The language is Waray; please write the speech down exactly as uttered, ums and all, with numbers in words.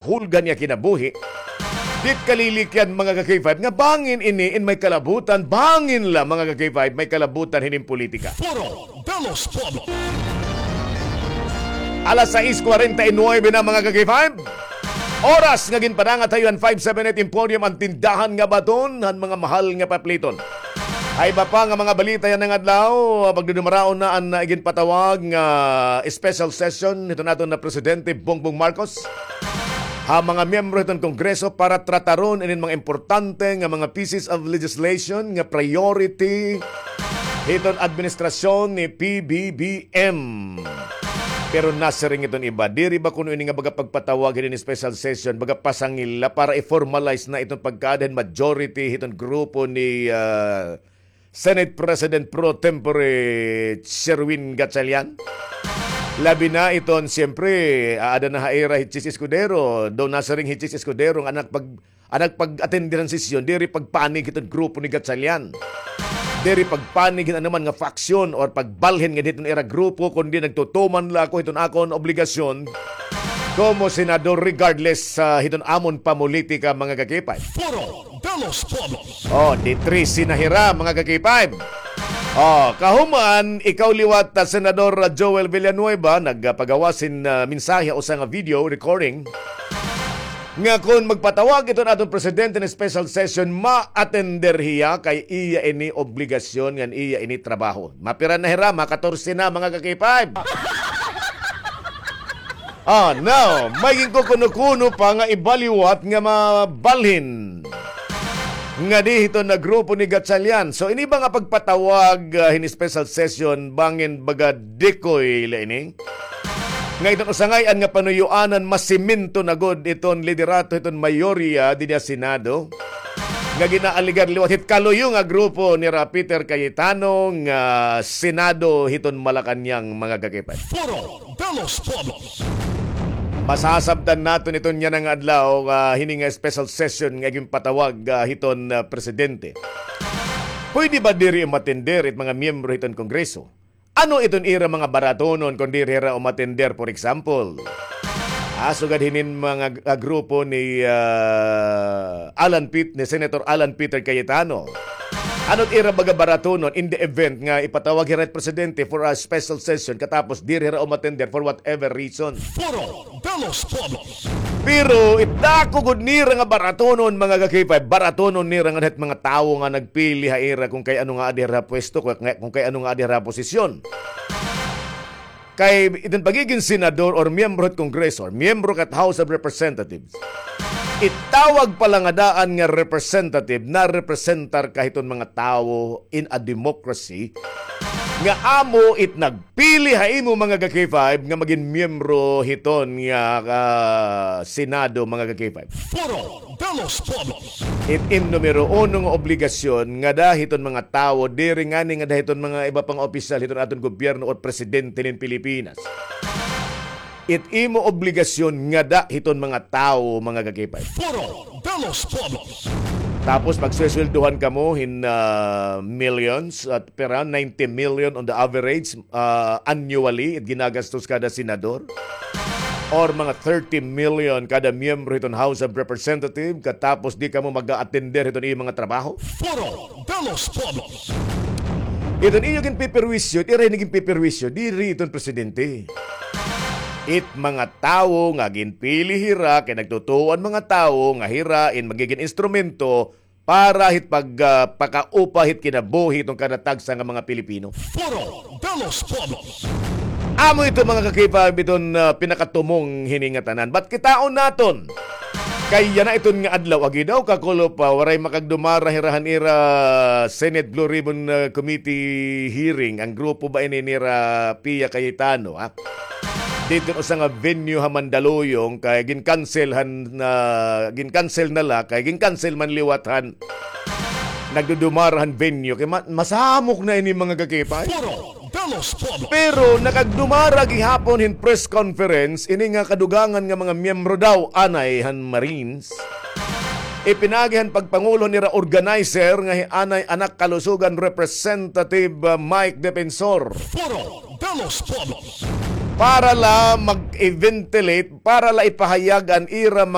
hulga niya kinabuhi. Dit kalilikyan, mga ka-K five, nga bangin ini in may kalabutan, bangin la, mga ka-K five, may kalabutan hinin politika. Foro de los Pueblos. Alas sais kwarenta y nuebe na, mga ka-K five. Oras nga ginpadangat ha iyo han five seven eight Emporium, an tindahan nga baton han mga mahal nga papliton. Ha iba pa nga mga balita yana nga adlaw, pagdudumaraon na an, ah, iginpatawag nga special session hiton aton nga Presidente Bongbong Marcos ha mga miyembro hiton Kongreso para trataron inin mga importante nga mga pieces of legislation nga priority hiton administrasyon ni P B B M. Pero nasiring iton iba, diri ba kuno ini nga baga pagpatawag hinin special session, baga pasangil la para i-formalize na iton pagkaada hin majority hiton grupo ni, ah, Senate President pro tempore Sherwin Gatchalian? Labi na iton, siyempre, aada na ha ira hi Chiz Escudero, daw nasiring hi Chiz Escudero nga anak pag An nagpag-atender han sesyon, diri pagpanig hiton grupo ni Gatchalian. Diri pagpanig hin anuman nga faksyon or pagbalhin nga hiton ira grupo, kundi nagtutuman la ako hiton akon obligasyon komo senador regardless sa hiton amon pamolitika, mga ka-K five. Foro de los Pueblos. Oh, di trese na hira, mga ka-K five. Oh, kahuman, ikaw liwat, ah, Senador Joel Villanueva, nagpagawas hin, ah, mensahe, usa nga video recording nga kon magpatawag iton aton presidente hin special session, ma-attender hiya kay iya ini obligasyon ngan iya ini trabaho. Mapira na hira? Ma-katorse na, mga ka-K five. Ah, now, may ginkukuno-kuno pa nga iba liwat nga mabalhin ngadi hiton nga grupo ni Gatchalian. So, ini ba nga pagpatawag, ah, hin special session, bangin baga decoy la ini? Nga iton usangay-an nga panuyoanan, masemento na gud iton liderato hiton mayorya dinhi ha Senado, nga ginaalegar liwat hit kaluyo nga grupo nira Peter Cayetano nga Senado hiton Malacañang, mga ka-K five. Foro de los Pueblos. Masasabtan naton iton yana nga adlaw, ah, hini nga special session nga ginpatawag, ah, hiton, ah, presidente. Pwede ba diri umatender it mga miyembro hiton Kongreso? Ano iton ira mga baratonon kon diri hira umatender, for example? Ah, sugad hinin mga, ah, grupo ni, ah, Alan Pit-, ni Senator Alan Peter Cayetano. Ano it ira baga baratonon in the event nga ipatawag hira it presidente for a special session katapos diri hira umatender for whatever reason? Foro de los Pueblos. Pero it dako gud nira nga baratonon, mga ka-K five, baratonon nira ngan hit mga tawo nga nagpili ha ira kon kay ano nga adi hira pwesto, kon, kon kay ano nga adi hira posisyon. Kay iton pagigin senador or miyembro hit Kongreso or miyembro kat House of Representatives, it tawag pa la nga daan nga representative, narepresentar ka hiton mga tawo in a democracy nga amo it nagpili ha imo, mga ka-K five, nga magin miyembro hiton nga, ah, Senado, mga ka-K five. Foro de los Pueblos. It im numero uno nga obligasyon ngada hiton mga tawo, diri ngani ngada hiton mga iba pang opisyal hiton aton gobyerno or presidente nin Pilipinas. It imo obligasyon ngada hiton mga tawo, mga ka-K five. Foro de los Pueblos. Tapos pagsusweldohan kamo hin, ah, millions at pera, ninety million on the average, ah, annually, it ginagastos kada senador. Or mga thirty million kada miyembro hiton House of Representative, katapos di kamo mag-a-attender hiton iyong mga trabaho. Foro de los Pueblos. Iton iyo ginpiperwisyo, it ira ini ginpiperwisyo, diri iton presidente. It mga tawo nga ginpili hira, kay nagtutuo an mga tawo nga hira in magigin instrumento para hit pag, ah, pakaupa hit kinabuhi hiton kada tagsa nga mga Pilipino. Foro de los Pueblos. Amo ito, mga ka-K five, iton, ah, pinakatumong hini nga tanan. But kitaon naton. Kay yana iton nga adlaw, agi daw kakulop pa, waray makagdumara hira han ira Senate Blue Ribbon, ah, Committee hearing, an grupo ba ini nira Pia Cayetano, ha? Didto usa nga venue ha Mandaluyong kay gin-cancel han, ah, gin-cancel na la kay gin-cancel man liwat han nagdudumara han venue kay ma-, masamok na ini, mga ka-K five. Foro de los Pueblos. Pero nakagdumara gihapon hin press conference ini nga kadugangan nga mga miyembro daw anay han Marines. Ipinaagi han pagpangulo nira organizer nga hi anay Anak Kalusugan Representative, ah, Mike Defensor. Foro de los Pueblos. para la mag-ventilate, para la ipahayag an ira